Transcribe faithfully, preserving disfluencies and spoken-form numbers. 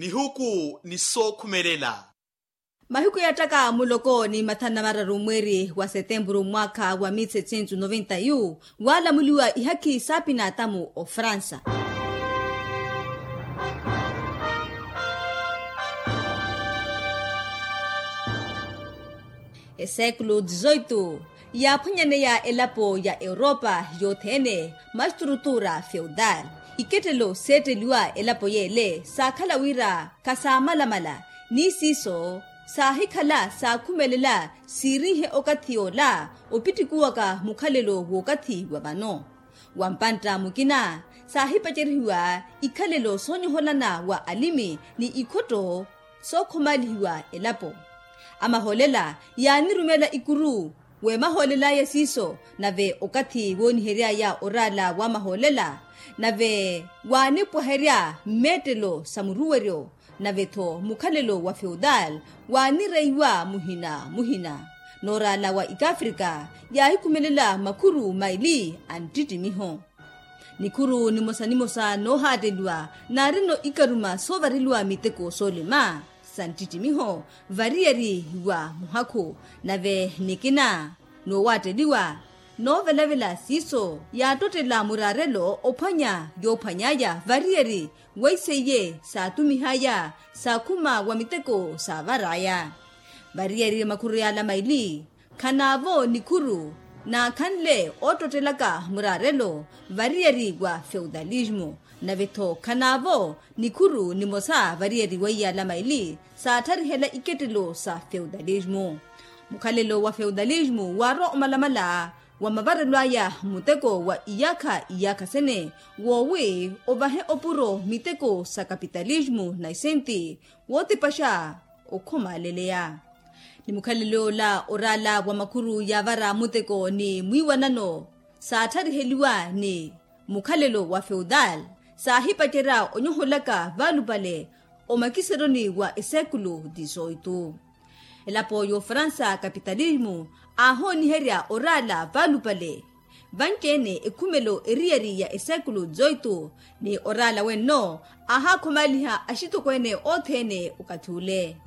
ihuku ni sookhumelela. Mahiku yaattaka muloko ni mathanu na mararu mweeri wa setempuru mwaakha wa mil setecento noventa yu waalamuliwa ihakhi saapinaatamu ofransa. Esekulu dizoitu yaaphwanyaneya elapo ya europa yothene, mastrutura feudal ikettelo seetteliwa elapo yeele saakhala wira khasaamalamala ni siiso saahikhala saakhumelela siirinhe okathi yoola opittikuwaka mukhalelo w'okathi wa vano. Wa mpantta mukina saahipacerihiwa ikhalelo soonyoholana wa alimi ni ikhotto sookhomalihiwa elapo. Amahoolela yaanirumela ikuru weemahoolel'aya siiso nave okathi woonihery'aya oraala w'amahoolela nave waanipwaherya mmeettelo sa muruweryo nave-tho mukhalelo wa feudal waanireiwa muhina muhina. Nooraala wa ikafrika yaahikhumelela makhuru maili a nttittimiho. Nikhuru nimosa nimosa noohaatteliwa naarino ikaruma soovareliwa miteko soolima sa nttittimiho variyari wa muhakhu nave nikina noowaatteliwa noovelavela siiso yaattottela muraarelo ophwanya yoophwany'aya variyari weiseiye saatumih'aya saakhuma wa miteko saavar'aya. Variyari makhuru y'ala maili khanaavo nikhuru naakhanle oottottelaka muraarelo variyari wa feudalismu nave-tho khanaavo nikhuru nimosa variyari weiyala maili saatharihela ikettelo sa feudalismu. Mukhalelo wa feudalismu waarwa omalamala wa mavarelo aya muteko wa iyaakha iyaakha sene woowi ovahe opuro miteko sa kapitalismu na isenti wootipaxa okhomaaleleya. Ni mukhalelo ola oraala wa makhuru yaavara muteko ni mwiiwanano saathariheliwa ni mukhalelo wa feudal saahipacerya onyoholaka vaalupale omakiseroni wa esekulu dizoitu. Elapo y'ofransa kapitalismu aahooniherya oraala vaalupale vanci-ene ekhumelo eriyari ya esekulu dizoitu ni oraala wenno aahakhomaliha axitokweene othene okathi ule.